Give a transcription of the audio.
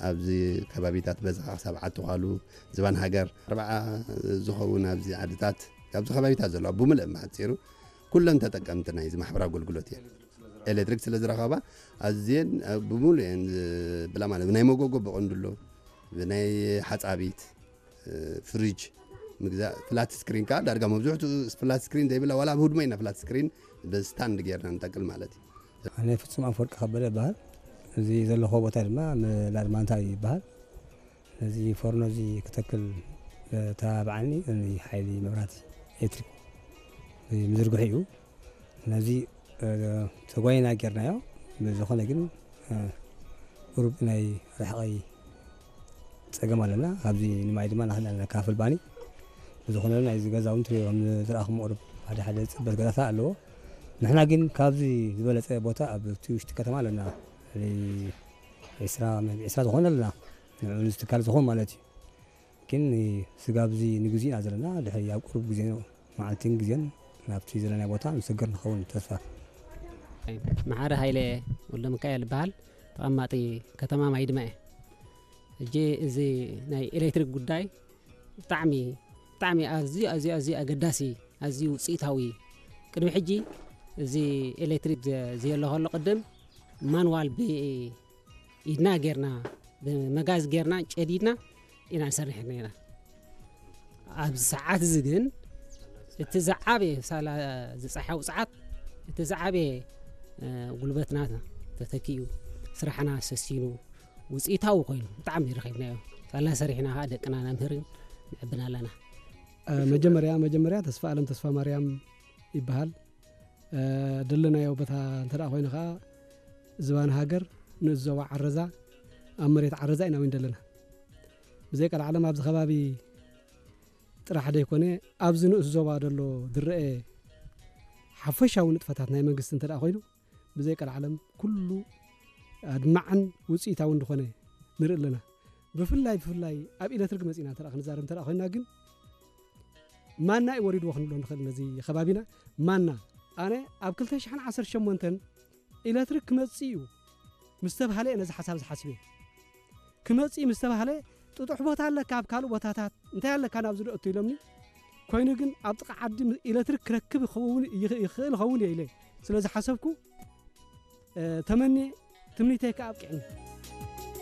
ኣብዚ ከባቢታት በዚ ክሳብ ዓዲ ኳሉ ዝባን ሃገር ኣርባዓ ዝኸውን ኣብዚ ዓድታት ኣብዚ ከባቢታት ዘለዋ ብምልእ ብሓፂሩ ኩለን ተጠቀምቲ ናይዚ ማሕበራዊ ኣገልግሎት እየን። ኤሌክትሪክ ስለ ዝረኸባ ኣዝየን ብሙሉ እየን ዝብላ ማለት ብናይ መጎጎ ብቐንዱ ኣሎ ብናይ ሓፃቢት ፍሪጅ ምግዛእ ፍላት ስክሪን ከዓ ዳርጋ መብዝሕትኡ ፍላት ስክሪን ዘይብላ ዋላ ኣብ ህድሞ ኢና ፍላት ስክሪን ብስታንድ ጌርና ንጠቅል ማለት እዩ። ኣነ ፍጹም ኣፈወርቂ ከበደ እበሃል። እዚ ዘለኹዎ ቦታ ድማ ምላድ ማንታ ይበሃል። ነዚ ፎርኖ እዚ ክተክል ተባብዓኒ ሓይሊ መብራህቲ ኤሌክትሪክ ምዝርግሑ እዩ። ነዚ ተጓይና ጌርናዮ። ብዝኾነ ግን ቁሩብ ናይ ርሕቐይ ጸገም ኣለና። ኣብዚ ንማይ ድማ ንኽእል ኣለና ካፍል ባኒ። ብዝኾነ ናይዚ ገዛ እውን ትሪኦ ከም ዝረኣኹም ቁሩብ ሓደ ሓደ ጽበት ገዛታት ኣለዎ። ንሕና ግን ካብዚ ዝበለጸ ቦታ ኣብ እቲ ውሽጢ ከተማ ኣለና። ዒስራ ዒስራ ዝኾነ ኣለና። ንዕኡ ንዝትካል ዝኾን ማለት እዩ። ግን ስጋብ እዚ ንግዜ ኢና ዘለና። ድሕሪ ኣብ ቁሩብ ግዜ መዓልትን ግዜን ናብቲ ዘለናዮ ቦታ ንሰግር ንኸውን ተስፋ። መሓሪ ሃይለ ወልደሚካኤል ይበሃል። ተቐማጢ ከተማ ማይድማ እየ። ሕጂ እዚ ናይ ኤሌክትሪክ ጉዳይ ብጣዕሚ ብጣዕሚ ኣዝዩ ኣዝዩ ኣዝዩ ኣገዳሲ ኣዝዩ ውፅኢታዊ እዩ። ቅድሚ ሕጂ እዚ ኤሌክትሪክ ዘየሎ ከሎ ቅድም ማንዋል ብኢድና ጌርና ብመጋዝ ጌርና ጨዲድና ኢና ንሰርሕ ነና። ኣብዚ ሰዓት እዚ ግን እቲ ዝዓበየ ሳላ ዝፀሓው ፀዓት እቲ ዝዓበየ ጉልበትና ተተኪኡ ስራሕና ሰሲኑ ውፅኢታዊ ኮይኑ ብጣዕሚ ረኺብናዮ። ሳላ ሰሪሕና ከዓ ደቅና ነምህርን ንዕብን ኣለና። መጀመርያ መጀመርያ ተስፋ ኣለም ተስፋ ማርያም ይበሃል። ደለናዮ ቦታ እንተ ደኣ ኮይኑ ከዓ ዝባን ሃገር ንእስ ዞባ ዓረዛ ኣብ መሬት ዓረዛ ኢና ወይን ደለና። ብዘይ ቀልዓለም ኣብዚ ከባቢ ጥራሕ ደይኮነ ኣብዚ ንእስ ዞባ ደሎ ዝረአ ሓፈሻዊ ንጥፈታት ናይ መንግስቲ እንተ ደኣ ኮይኑ ብዘይ ቀልዓለም ኩሉ ኣድማዕን ውፅኢታዊ እንደኾነ ንርኢ ኣለና። ብፍላይ ብፍላይ ኣብ ኤሌክትሪክ መፂና እንተ ደኣ ክንዛረብ እንተ ደኣ ኮይና ግን ማና እዩ ወሪድዎ ክንብሎ ንኽእል ነዚ ከባቢና ማና። ኣነ ኣብ ክልተ ሽሕን ዓሰርተ ሸሞንተን ኤሌክትሪክ ክመፅእ እዩ ምስ ተባሃለ እየ ነዚ ሓሳብ ዝሓስብ እየ። ክመፅእ እዩ ምስ ተባሃለ ጥጡሕ ቦታ ኣለካ ኣብ ካልእ ቦታታት እንታይ ኣለካ ናብዚ ዶ እቱ ኢሎምኒ። ኮይኑ ግን ኣብ ጥቓ ዓዲ ም- ኤሌክትሪክ ክረክብ ይኸውን ይኽ- ይኽእል ይኸውን እየ ኢለ ስለ ዝሓሰብኩ እ፣ ተመኒ ትምኒተይ ከዓ ኣብቂዕኒ።